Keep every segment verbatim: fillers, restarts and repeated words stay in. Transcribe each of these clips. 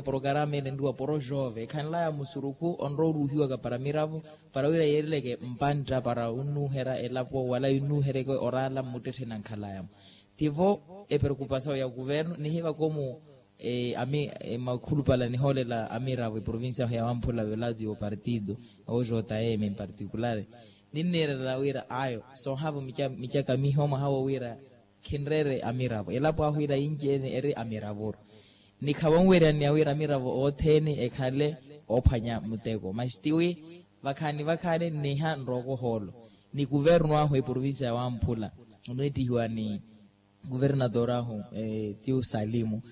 porokarama ene nriwa poro jove ekhanlaya musurukhu onrowa oruhiwaka para miravo para wira yeerileke mpantta para onnuherya elapo wala yonnuheryeke oraala mmuttetthe nankhalayamo. Tivo epreokupasawo ya kuvernu nihivaka omu makhulupala nihoolela amiravo eprovincia ahu ya wamphula velatu ya opartido ojm en particular. Ninniirela wira ayo soohavo micaka miho mwaha wo wira khinreere amiravo elapo ahu ila yinci-ene eri amiravoru. Ni khavanweryanniya wira amiravo othene ekhale oophwanya muteko masi tiwi vakhaani vakhaani nniha nrooko ohoolo ni kuvernu ahu eprovincia ya wamphula onwettihiwa ni kuvernator ahu ti usalimu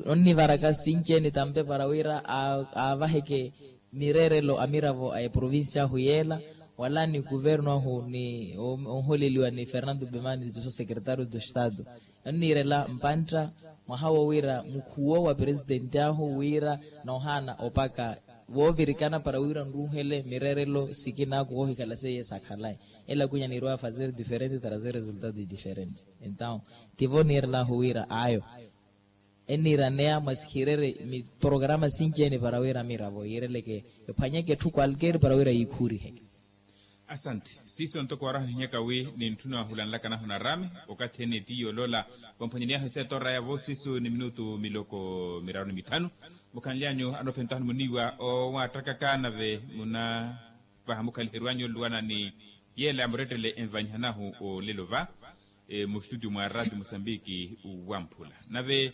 onnivaraka sinci-ene tampe para wira aavaheke mireerelo amiravo a eprovincia ahu yeela wala ni kuvernu ahu ni onholeliwa ni fernando bemani tuso secretario do estado. Onniirela mpantta mwaha wo wira mukhuwo wa presitenti ahu wira noohaana opaka voovirikana para wira nruuhele mireerelo sikina koohikhala seiye sakhalayi. Ela kunya niirwa fazer diferente trazer resultado diferente. Entaw tivo niirela ahu wira ayo enniiraneya mwasikhireerye miporokrama sinci-ene para wira miravo yiireleke ephwanyeke etthu kwalkeeri para wira yiikhuuriheke. Asante. Siiso ntoko warahuhinyaka wi nintthuna wahulanlaka nahu narami okathi ene tiyo oloola vamphwanyaniy'ahu esetora yavo siiso ni minutu miloko miraru ni mitthanu. Mukhanly'anyu anoophentahuni muniiwa owaattakaka nave munavaha mukhaliherw'anyu oluwana ni yeela ya murettele envanyihanahu olelo va mu studio mwa ratio musambiki wamphula nave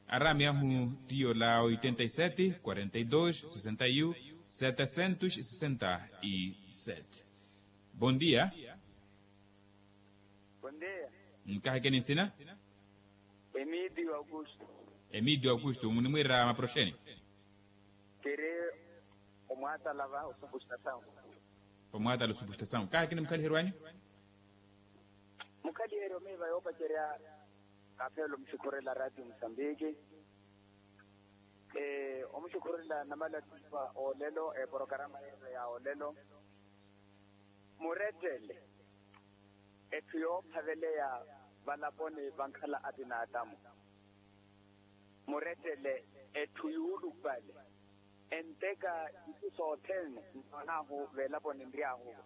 araami ahu tiyo la oitenta y sete quarenta y dos sesenta y un setecentos sesenta y sete. Bon dia. Bon dia. Nkahekeni nsina? Emidio augusto. Emidio augusto munimwiira maproxeni? Kiri omwaatala va osupustasawu. Omwaatala osupustasawu kahekini mukhaliheryo anyu? Mukhaliheryo miiva yoopacerya kaapheela omuxukhurela ratio musambiki. Omuxukhurela namala tipa olelo eporokarama yeevo ya olelo. Murettele etthu yoophaveleya valaponi vankhala a pinaatamu. Murettele etthu yuulupale. Enteka isu sothene nnoon'ahu veelaponi nry'ahu-vo.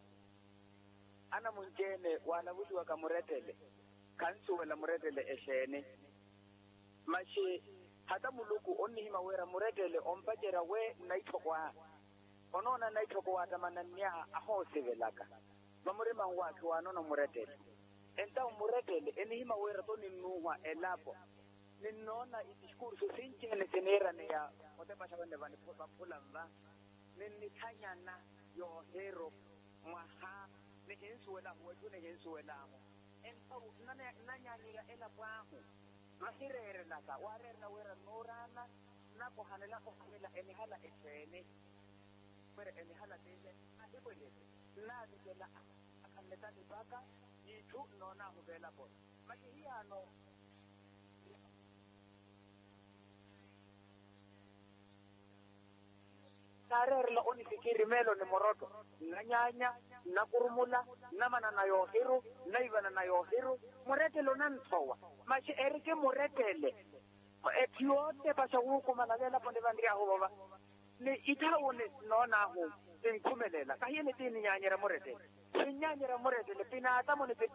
Anamunci-ene waalavuliwaka murettele khansuwela murettele exeeni. Maxi hata muluku onnihima wira murettele ompacerya we nnaitthoko ahu. Onoona nnaitthoko waatamananny'aha ahoosivelaka. Vamurima nwaakhi waanoona murettele. Entawu murettele enihima wira to ninnuuhwa elapo. Ninnoona itiskursu sinci-ene siniiraneya otepaxa wene vamphula nva. Ninnithanyana yoohiru mwaha nihinsuwel'ahu wetthu nihinsuwel'ahu. Entawu nnanyaanyerya elapo ahu. Vahireerelaka waareerela wira nnuuraana nnakohanela kohanela enihala exeeni? Wira enihala tiile ahipwelele nnaavitela akhanle talipaka n'itthu nnoon'ahu veelaponi. Maxi hiyaano naareerela onifikiri meelo ni murotto nnanyaanya nnakurumula nnamanana yoohiru nnaivanana yoohiru. Murettele onanthowa maxi eriki murettele. Etthu yootepaxa wuukumala veelaponi vanry'ahu vova ni itthawuni nnoon'ahu. Tinkhumelela kahiye ni tiininyaanyerya murettele. Sinnyaanyerya murettele pinaatamo ni pi